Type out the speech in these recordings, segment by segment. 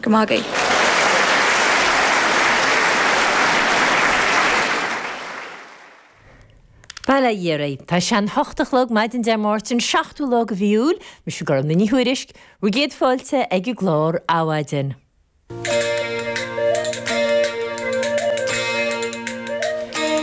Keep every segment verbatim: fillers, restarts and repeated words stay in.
Go maith agaibh. Bail ó Dhia oraibh. Tá sé an hocht a chlog maidin Dé Máirt an seachtú lá de mhí Iúil, mise Gormfhlaith Ní Thuairisg, bhur gcéad fáilte ag an gclár Adhmhaidin.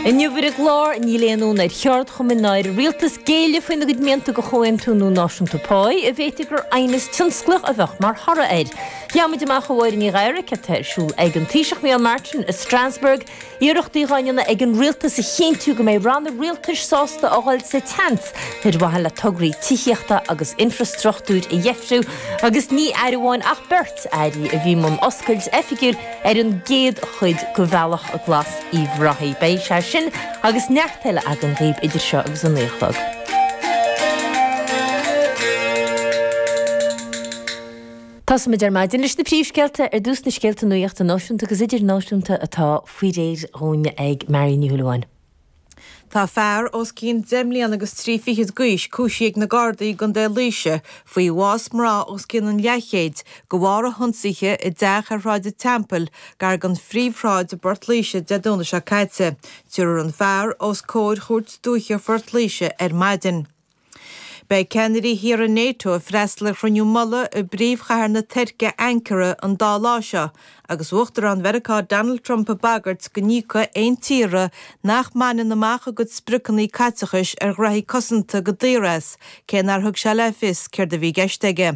Inniu ar an gclár, níl aon fhonn ar cheardchumainn ná ar an rialtas géilleadh faoina gcuid mianta do chomhaontú nua náisiúnta páí, a bhféadfadh gur aighneas tionsclaíoch a bheadh mar thoradh air. Gheobhaimid amach ó Mháire Ní Ghadhra céard atá ar siúl ag an Taoiseach Micheál Martin i Strasbourg, iarrachtaí dhá ndéanamh ag an rialtas a chinntiú go mbeidh ranna rialtais sásta a dhul sa tseans ar mhaithe le tograí tithíochta agus infreastruchtúir a dheifriú agus ní aire amháin ach beirt airí a bhí i mbun oscailt oifigiúil ar an gcéad chuid de Bhealach Glas Uíbh Ráthaigh. Beidh sé sin agus neart eile againn daoibh idir seo agus a naoi a chlog. Tosóimid ar maidin leis na príomhscéalta, ar dtús na scéalta nuachta náisiúnta agus idirnáisiúnta atá faoi réir dhúinn ag Marion Ní Shúilleabháin. Tá fear os cionn deich mbliana agus trí fichid d'aois cúisithe ag na Gardaí i gContae Laoise faoi bhás mná os cionn an leathchéid de bharr a hionsaithe i dteach ar Shráid an Teampaill gar don phríomhshráid i bPort Laoise Dé Domhnaigh seo caite. Tabharfar an fear os comhair Chúirt Dúiche Phort Laoise ar maidin. Beidh ceannairí thíortha NATO ag freastal ar chruinniú mullaigh i bpríomhchathair na Tuirce, Ankara, an dá lá seo agus Uachtarán Mheiriceá Donald Trump ag bagairt go n-íocfaidh aon tíortha nach mbaineann amach a gcuid spriocanna caiteachais ar ghraithí cosanta go daor as, cé nár thug sé le fios céard a bhí i gceist aige.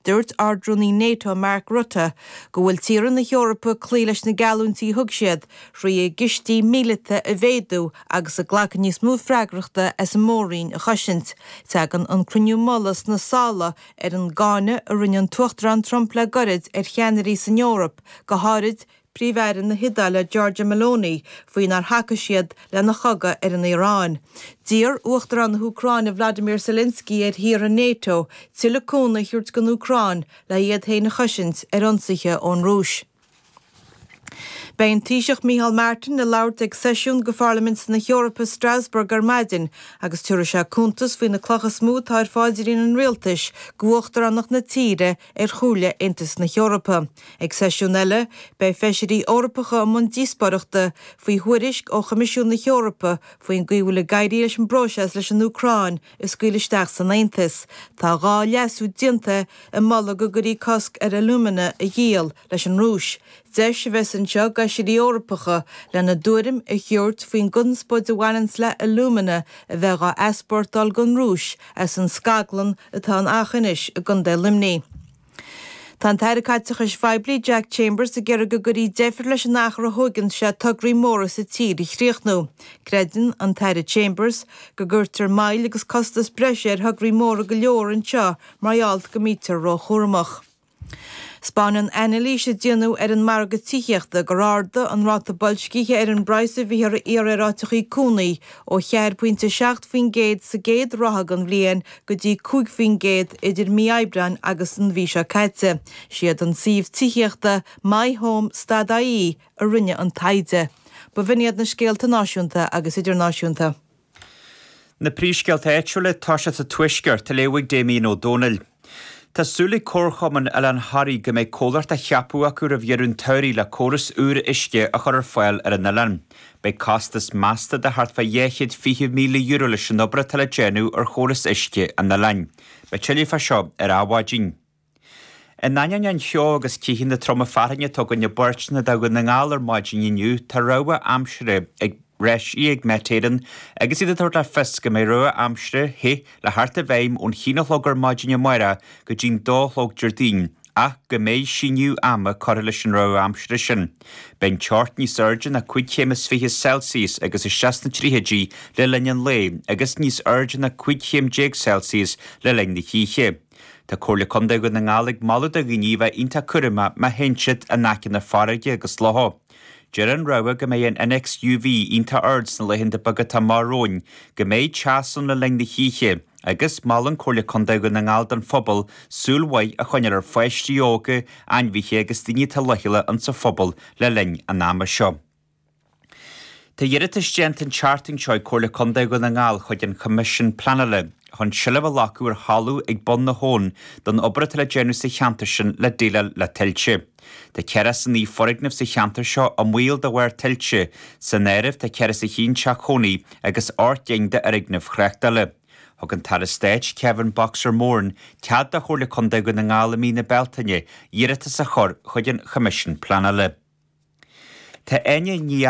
Dúirt Ard-Rúnaí NATO Mark Rutte go bhfuil tíortha na hEorpa ag cloí leis na geallúintí a thug siad thrí a gcistí míleata a mhéadú agus ag glacadh níos mó freagrachta as an mór-roinn a chosaint. Tagann an cruinniú mullaigh sna sála ar an gcáineadh a rinne an tUachtarán Trump le gairid ar cheannairí san Eoraip, go háirid Príomh-Aire na hIodáile Giorgia Meloni, faoi nár thacaigh siad lena chogadh ar an Iaráin. D'iarr Uachtarán na hÚcráine Vladimir Zelensky ar thíortha NATO tuilleadh cúnamh a thabhairt don Úcráin le iad féin a chosaint ar ionsaithe ón Rúis. Beidh an Taoiseach Micheál Martin ag labhairt ag seisiún de Pharlaimint na hEorpa i Strasbourg ar maidin agus tabharfaidh sé cuntas faoi na clocha is mó atá ar pháidrín an rialtais d'uachtaránacht na tíre ar Chomhairle Aontas na hEorpa. Ag seisiún eile, beidh feisirí Eorpacha i mbun díospóireachta faoi thuairisc ó Choimisiún na hEorpa faoin gcaoi a bhfuil ag éirí leis an bpróiseas leis an Úcráin a scaoileadh isteach san Aontas. Tá dhá leasú déanta i moladh go gcuirfí cosc ar alúmana a dhíol leis an Rúis. Deis a bheas anseo d'fheisirí Eorpacha lena dtuairim a thabhairt faoin gconspóid a bhaineanns le alúmana a bheith dhá easpórtáil gon Rúis as an scaglann atá in Aughinish i gContae Luimnigh. Tá an tAire Caiteachais Phoiblí Jack Chambers ag iarraidh go gcuirfí deifir leis an achar a thóigeann sé tograí móra sa tír a chríochnú. Creideann an tAire Chambers go gcuirtear moill agus costas breise ar thograí móra go leor anseo mar gheall go mbítear róchúramach. 'Spáineann anailís a déanadh ar an margadh tithíochta gur ardaigh an ráta boilscithe ar an bpraghas a bhíthear a iarraidh ar áiteachaí cónaí ó cheathair pointe a seacht faoin gcéad sa gcéad ráithe den bhliain go dtí cúig faoin gcéad idir mí Aibreáin agus an mhí seo caite. Siad an suíomh tithíochta MyHome stad ie a rinne an taighde. B'in iad na scéalta náisiúnta agus idirnáisiúnta. Na príomhscéalta áitiúla, tá sé sa Tuaisceart, á léamh ag Damien Ó Dónaill. Tá súil ag Comharchumann Oileán Thoraí go mbeidh comhlacht á cheapadh acu roimh dheireadh an tsamhraidh le córas úr uisce a chur ar fáil ar an oileán. Beidh costas measta de thart fá dhá chéad fiche míle euro leis an obair atá le déanamh ar chóras uisce an oileáin. Beidh tuilleadh fá seo ar Adhmhaidin. In ainneoin an cheo agus ceathanna troma fearthainne atá againn i bpáirteanna de Dhún na nGall ar maidin inniu, tá rabhadh aimsire ag eisithe ag Met Éireann agus iad ag tabhairt le fios go mbeidh rabhadh aimsire the le theacht i bhfeidhm ón haon a chlog ar maidin amárach go dtí'n dó a chlog Déardaoin ach go mbeidh síneadh ama curtha leis an rabhadh aimsire sin. Beidh an teocht níos airde ná cúig chéim is fiche Celsius agus isteach sna tríochaidí le linn an lae agus níos airde ná cúig chéim déag Celsius le linn na hoíche. Tá Comhairle Contae Dhún na nGall ag moladh do dhaoine a bheith iontach cúramach má théann siad in aice na farraige agus locha. Deir an rabhadh go mbeidh an innéacs UV iontach ard sna laethanta beaga atá amach romhainn, go mbeidh teas ann le linn na hoíche, agus molann Comhairle Contae Dhún na nGall don phobal súil mhaith a choinneáil ar pháistí óga, ainmhithe agus daoine atá leochaileach insa phobal le linn an ama seo. Tá iarratas déanta an tseachtain seo ag Comhairle Contae Dhún na nGall chuig an Choimisiún Pleanála chun seilbh a ghlacadh ar thalamh ag bun na habhann don obair atá le déanamh sa cheantar sin le déileáil le tuilte. Tá ceathracha is a naoi foirgneamh sa cheantar seo i mbaol de bharr tuilte, san áireamh tá ceathracha is a haon teach cónaí agus ocht gcinn d'fhoirgnimh thráchtála. Thug an tAire Stáit Kevin Boxer Moran cead do Chomhairle Contae Dhún na nGall i mí na Bealtaine iarratas a chur chuig an Choimisiún Pleanála. Tá Áine Ní